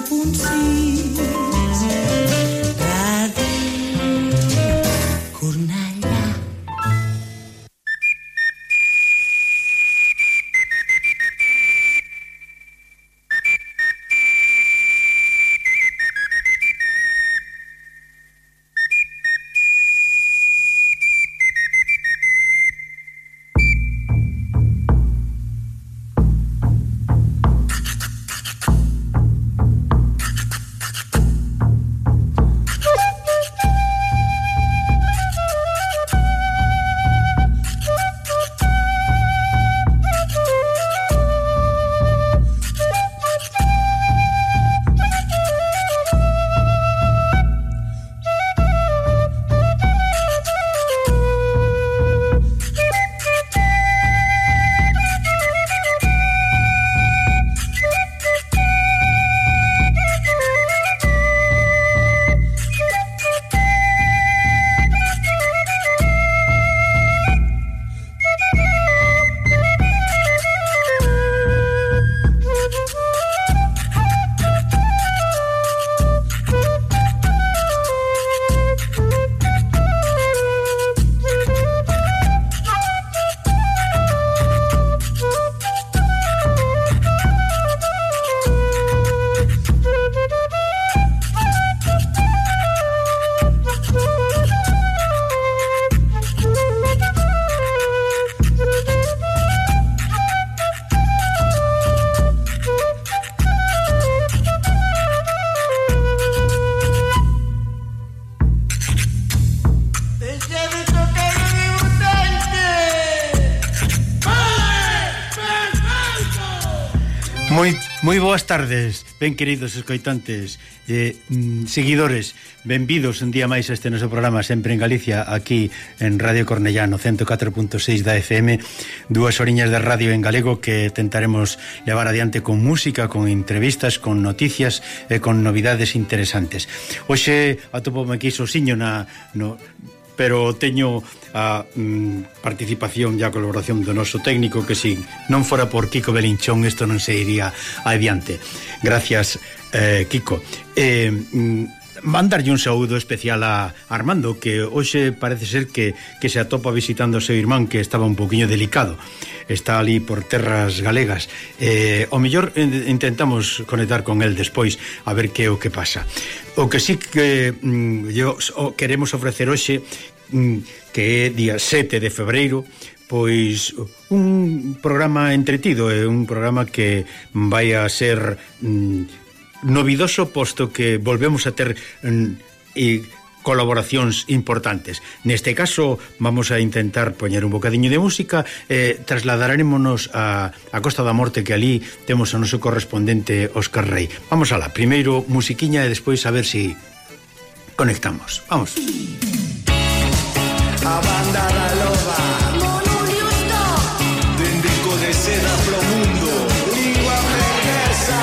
107.6 Ràdio Cornellà. Moi boas tardes, ben queridos escoitantes, seguidores, benvidos un día máis a este noso programa sempre en Galicia, aquí en Radio Cornellá no 104.6 da FM, 2 horiñas de radio en galego que tentaremos levar adiante con música, con entrevistas, con noticias e con novidades interesantes. Hoxe atopome aquí sosiño pero teño a participación e a colaboración do noso técnico que si non fora por Kiko Belinchón isto non se iría adiante. Gracias, Kiko. Mandarlle un saúdo especial a Armando, que hoxe parece ser que se atopa visitando o seu irmán, que estaba un poquinho delicado, está ali por terras galegas. O mellor intentamos conectar con el despois a ver que é o que pasa. O que sí que queremos ofrecer hoxe, que é día 7 de febreiro, pois un programa entretido, é un programa que vai a ser novidoso, posto que volvemos a ter colaboracións importantes. Neste caso vamos a intentar poñer un bocadiño de música, trasladarémonos a Costa da Morte, que ali temos o noso correspondente Óscar Rey. Vamos alá, primeiro musiquiña e despois a ver si conectamos. Vamos. A banda da loba Mono Liusto Dendeco de seda pro mundo Lingua francesa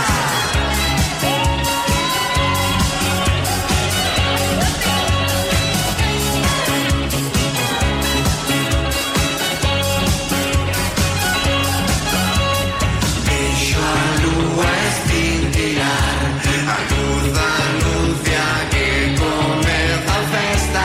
Deixo a lúa estintilar A luz anuncia que comeza a festa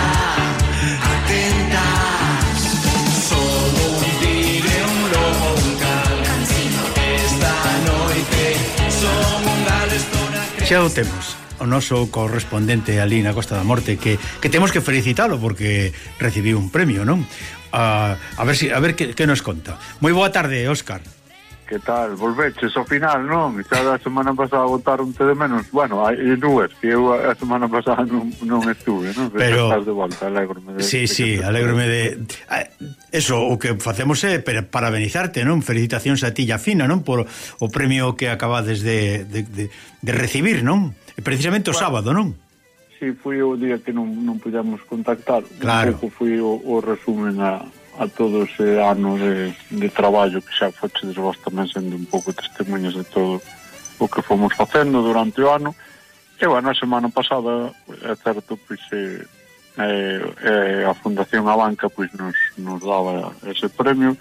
Xa o temos, o noso correspondente ali na Costa da Morte, que temos que felicitalo porque recibiu un premio, non? A ver que nos conta. Moi boa tarde, Óscar. Que tal? Volveches ao final, non? Xa da semana pasada botaron de menos. Bueno, hai dúas, que eu a semana pasada non estuve, non? Pero estás de volta, alégrome de... Sí, alégrome de... Eso, o que facemos é parabenizarte, non? Felicitacións a ti e a Fina, non? Por o premio que acabades de recibir, non? Precisamente o sábado, non? Sí, foi o día que non podíamos contactar. Claro. Un pouco foi o resumen a todo ese ano de traballo que xa fochedes vos tamén sendo un pouco testemunhas de todo o que fomos facendo durante o ano. E bueno, a semana pasada, é certo, pois a Fundación Abanca pois nos daba ese premio,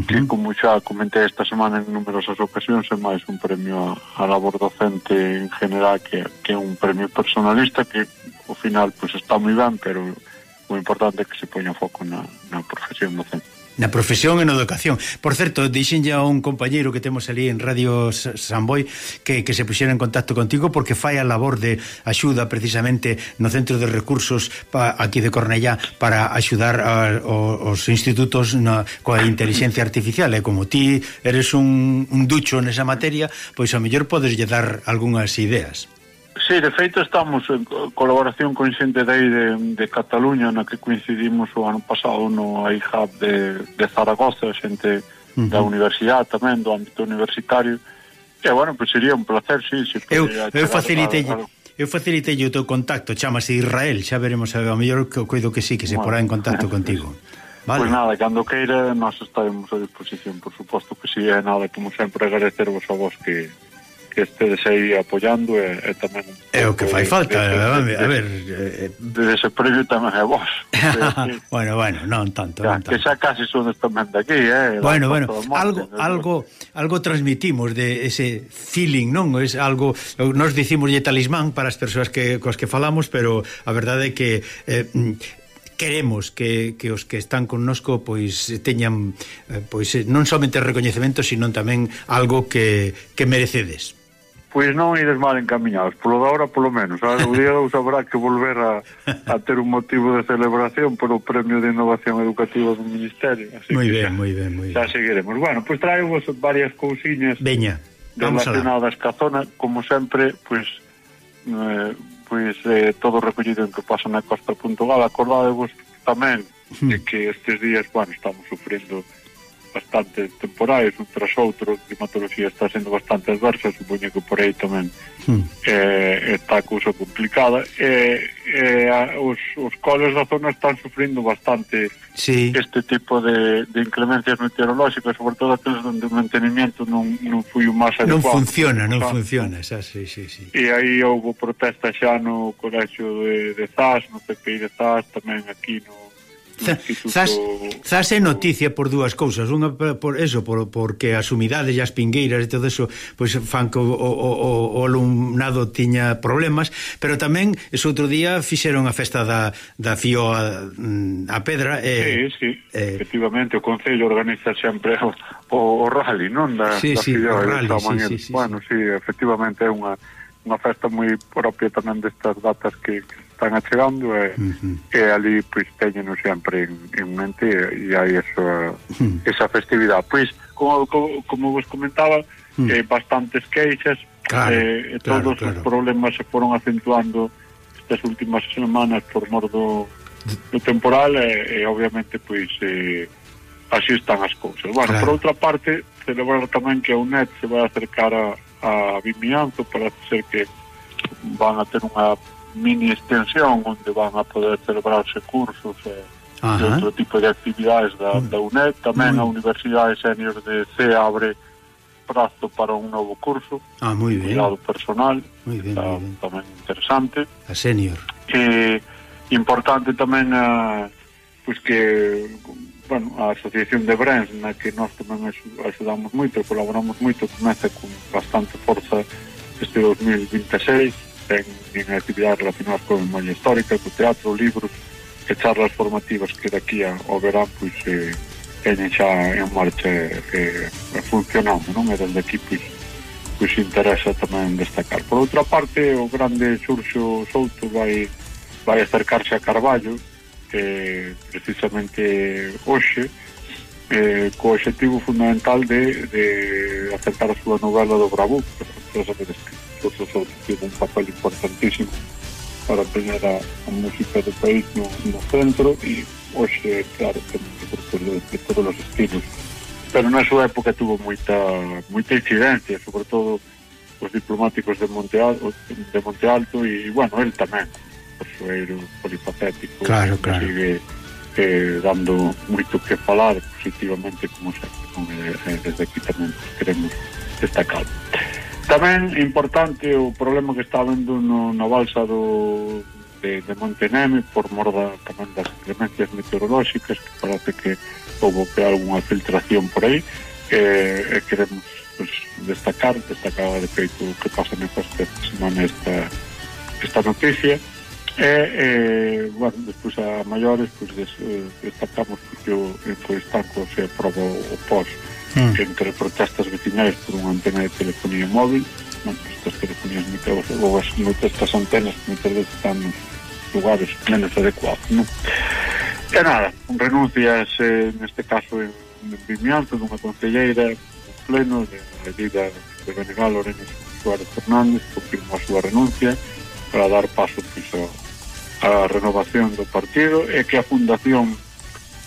que como xa comentei esta semana en numerosas ocasións, é máis un premio a labor docente en general que é un premio personalista que ao final pois está moi ben, pero o importante é que se poña foco na profesión docente. Na profesión e na educación. Por certo, dixen ya un compañeiro que temos ali en Radio Samboy que se puxera en contacto contigo porque fai a labor de axuda precisamente no Centro de Recursos aquí de Cornellá para axudar aos institutos coa inteligencia artificial, e como ti eres un ducho nesa materia, pois a mellor podes lle dar algunhas ideas. Sí, de feito estamos en colaboración con xente de Cataluña, na que coincidimos o ano pasado no iHub de Zaragoza, xente da universidade tamén, do ámbito universitario, e bueno, pues sería un placer, sí. Eu facilitei o teu contacto, chamase Israel, xa veremos, a mellor coido que sí, que se porá en contacto contigo. Vale. Pois nada, cando queira, nós estaremos a disposición, por suposto que sí, é nada, como sempre, agradecervos a vos que estedes aí apoiando e tamén é o que fai falta, a ver ese premio tamén é vos. Bueno, non tanto, que xa casi sodes tamén de aquí, bueno, algo transmitimos de ese feeling, non? Es algo, nos dicimos talismán para as persoas coas que falamos, pero a verdade é que queremos que os que están connosco pois teñan pois non somente recoñecemento, sino tamén algo que merecedes. Pois non ides mal encaminhados, polo de ahora polo menos. O día 2 habrá que volver a ter un motivo de celebración por o Premio de Innovación Educativa do Ministerio. Moi ben. Xa seguiremos. Bueno, pois traemos varias cousiñas relacionadas ca zona, como sempre, pois todo recollido en que pasa na Costa.gal. Acordádevos tamén de que estes días, estamos sufrindo bastante temporais, un tras outro, a climatoloxía está sendo bastante adversa, supoño que por aí tamén está a cousa complicada, os coles da zona están sufrindo bastante este tipo de inclemencias meteorolóxicas, sobre todo aqueles onde o mantenimiento non foi o máis adecuado. Non funciona, xa, sí. E aí houve protesta xa no colexio de Zas, no CPI de Zas, tamén aquí no Zas é noticia por dúas cousas. Unha porque as humidades e as pingueiras e todo eso pois fan que o alumnado tiña problemas, pero tamén ese outro día fixeron a festa da Fío a Pedra. Sí, efectivamente o Concello organiza sempre o rally, non? Sí, o rally, sí. Bueno, sí, efectivamente é unha festa moi propia tamén destas datas que están achegando e ali pois teñeno sempre en mente e hai esa festividade. Pois, como vos comentaba, bastantes queixas, todos os problemas se foron acentuando estas últimas semanas por mor do temporal e obviamente pois así están as cousas. Bueno, por outra parte, celebrar tamén que a UNED se vai acercar a Vimianzo, para ser que van a ter unha mini extensión onde van a poder celebrarse cursos e outro tipo de actividades da UNED. Tamén a Universidade Senior de C abre prazo para un novo curso, cuidado personal, tamén interesante. A Senior. Importante tamén pois que a Asociación de Brens, na que nós tamén axudamos moito, colaboramos moito, comeza con bastante forza este 2026, ten actividades relacionadas con memoria histórica, co teatro, libros e charlas formativas que daqui ao verán pois teñen xa en marcha funcionando, non? E desde aquí pois interesa tamén destacar. Por outra parte, o grande Xurxo Souto vai acercarse a Carballo precisamente hoxe co objetivo fundamental de acercar a súa novela do Bravú, que sabedes que Xurxo Souto tiene un papel importantísimo para poñer a música do país no centro, e hoxe, claro, de todos os estilos, pero na súa época tuvo moita incidencia, sobre todo os diplomáticos de Monte Alto e, bueno, el tamén persoeiro polifacético, sigue dando moito que falar positivamente, como sempre, desde aquí tamén queremos destacar. Tamén importante o problema que está habendo na balsa do de Monteneme por mor tamén das inclemencias meteorolóxicas, que parece que houve algunha filtración por aí, e queremos pues, destacar de feito que pasa nesta semana esta noticia. Bueno, despois a maiores pues, destacamos que o Estanco se aproba o POS entre protestas veciñais por unha antena de telefonía móvil. Bueno, estas telefonías ou estas antenas moitas veces están nos lugares menos adecuados, non? E nada, renuncias neste caso en Vimianzo dunha concelleira no pleno de medida de Benegal. Lorena Suárez Fernández confirmou a súa renuncia para dar paso pues, a renovación do partido, e que a Fundación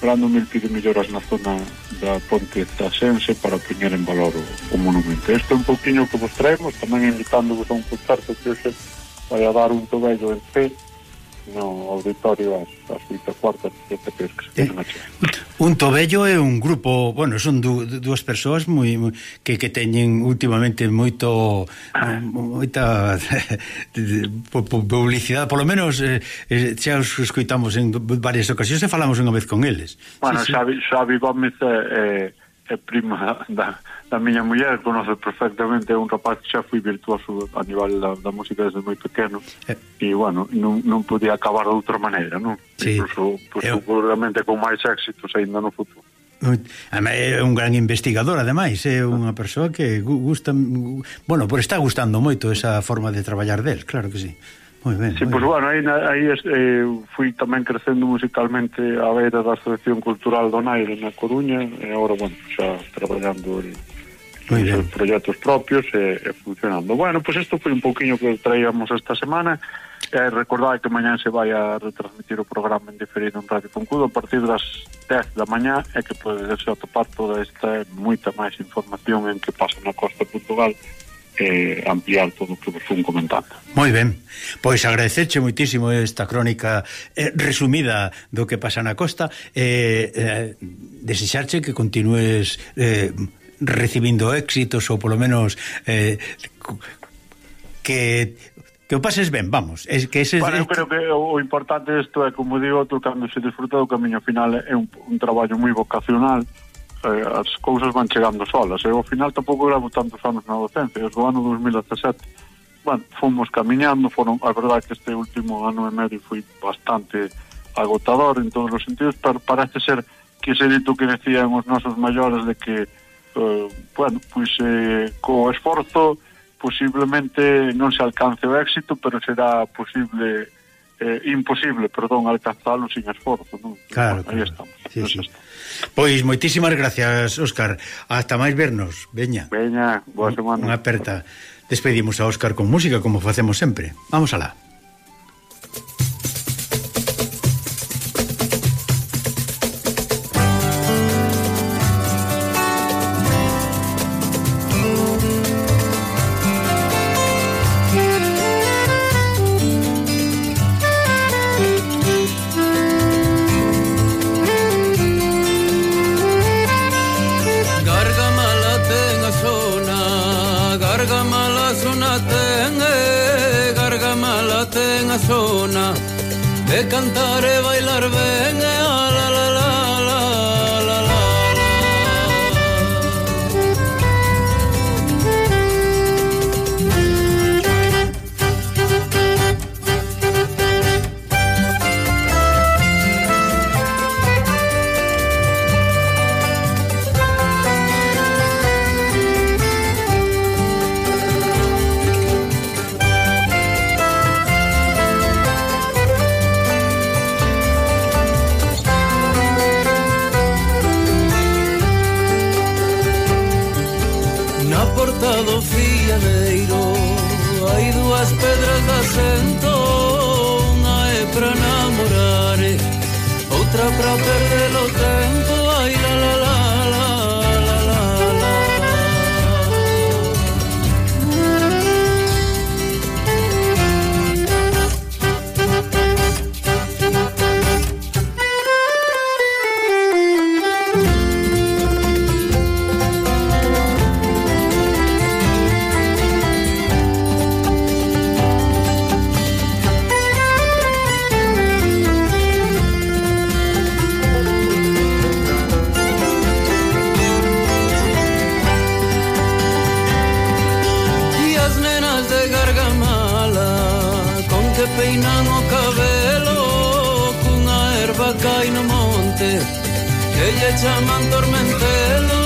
Brando Mil pide melloras na zona da Ponte Tasense para poñer en valor o monumento. Isto é un pouquiño que vos traemos, tamén invitándovos a un concerto que hoxe vai a dar un Tobello en C no auditorio ás 8:15, que se quedan a chegar. Un Tobello é un grupo, bueno, son dúas persoas moi que teñen últimamente moita publicidade, polo menos xa os escoitamos en varias ocasións e falamos unha vez con eles. Bueno, sí. Xavi Gómez é prima da miña muller, conoce perfectamente, é un rapaz que xa foi virtuoso a nivel da música desde moi pequeno, e bueno, non podía acabar de outra maneira, non? Sí. Incluso, seguramente con máis éxitos ainda no futuro. É un gran investigador, ademais, é unha persoa que gusta, bueno, por está gustando moito esa forma de traballar del, claro que sí. Moi ben. Sí, pois bueno, aí fui tamén crecendo musicalmente a beira da Asociación Cultural Donaire na Coruña, e agora, bueno, xa traballando en proxectos propios e funcionando. Bueno, pois isto foi un pouquiño que traíamos esta semana. Recordade que mañán se vai a retransmitir o programa en diferido en Radio Concudo a partir das 10 da mañá, e que podedes atopar toda esta moita máis información en que pasa na costa de Portugal, ampliar todo o que vos fun comentando. Moi ben, pois agradecerche moitísimo esta crónica resumida do que pasa na costa, desexarche que continúes recibindo éxitos, ou polo menos que o pases ben, vamos. Eu creo que o importante isto é, como digo, cando se disfruta do camiño final, é un traballo moi vocacional. As cousas van chegando solas, e ao final tampouco levo tantos anos na docencia. Desde o ano 2017 bueno, fomos camiñando. A verdade que este último ano e medio foi bastante agotador en todos os sentidos, pero parece ser que ese dito que decían os nosos maiores de que bueno, pois co esforzo posiblemente non se alcance o éxito, pero será imposible, alcanzalo sin esforzo, non? Claro, aí estamos. Sí, sí. Pois moitísimas gracias, Óscar. Hasta máis vernos. Veña, boa semana. Unha aperta. Despedimos a Óscar con música, como facemos sempre. Vamos alá. Zona de cantar e bailar ben, la la la la la la. Do fiadeiro hai dúas pedras de asento, unha é pra namorar, outra pra perder o tempo. Ai la la la la la la la. gargamala, con que peinan o cabelo, cunha erva cai no monte, que lle chaman tormentelo.